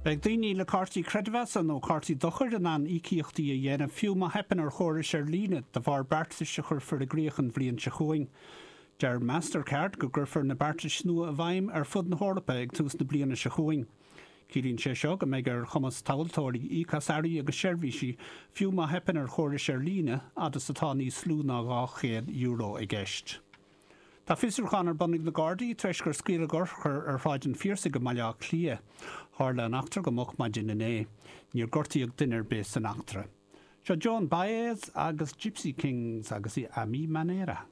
Beidh daoine le cártaí creidmheasa nó cártaí dochair in ann íocaíochtaí a dhéanamh fiú má theipeann ar chórais ar líne de bharr beartais a chuirfear i gcrích an bhliain seo chugainn. Deir Mastercard go gcuirfear na beartais nua i bhfeidhm ar fud na hEorpa ag tús na bliana seo chugainn. Ciallaíonn sé seo go mbeidh ar chumas tomhaltóirí íoc as earraí agus seirbhísí fiú má theipeann ar chórais ar líne fhad is atá níos lú ná €200 i gceist. Tá fiosrúchán ar bun ag na Gardaí tar éis gur scaoileadh urchar ar Shráid an Phiarsaigh i mBaile Átha Cliath. Tharla an eachtra go moch maidin inné. Níor gortaíodh duine ar bith san eachtra. Seo Joan Baez agus Gipsy Kings agus A Mi Manera.